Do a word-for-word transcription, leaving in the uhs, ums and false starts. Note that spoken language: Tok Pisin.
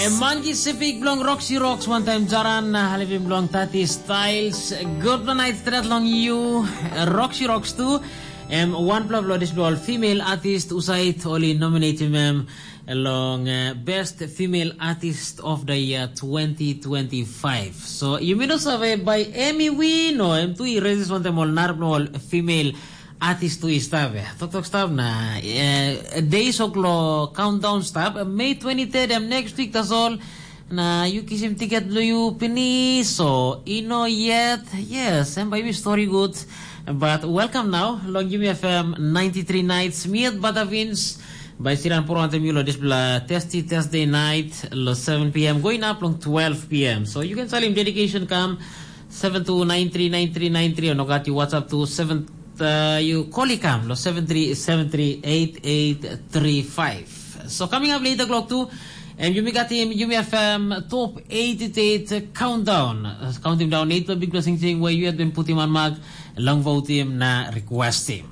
Monkey Sipik bilong Roxy Rocks, one time Jaran, uh, Halivim bilong Tati Styles. Good night, stret long you, Roxy Rocks too. Em wanpela bilong dispela ol female artist usait oli nominatim em long uh, best female artist of the year twenty twenty-five. So you may not save by Emmy Win, no, em tu i raises one time ol narap ol female artist tu i stap ya. Toktok stap na uh, days oklo countdown stap. May twenty-third em next week, that's all. Na yu kisim tiket bilong yu pinis, so ino yet. Yes, em bai mi story good. But welcome now long Yumi F M ninety-three nights. Miet Batavins by Siran Poro antem yu lo dispela Testy Thursday night lo seven p m going up long twelve p m. So you can salim dedication kam seven two nine three nine three nine three, no gat you WhatsApp to seven, uh, you call i kam lo seven three seven three eight eight three five. So coming up later clock too, and you may got him, you may have um, top eight eight countdown. Uh, count him down eight big blessing thing where you had been put him on mark, long vote him na request him.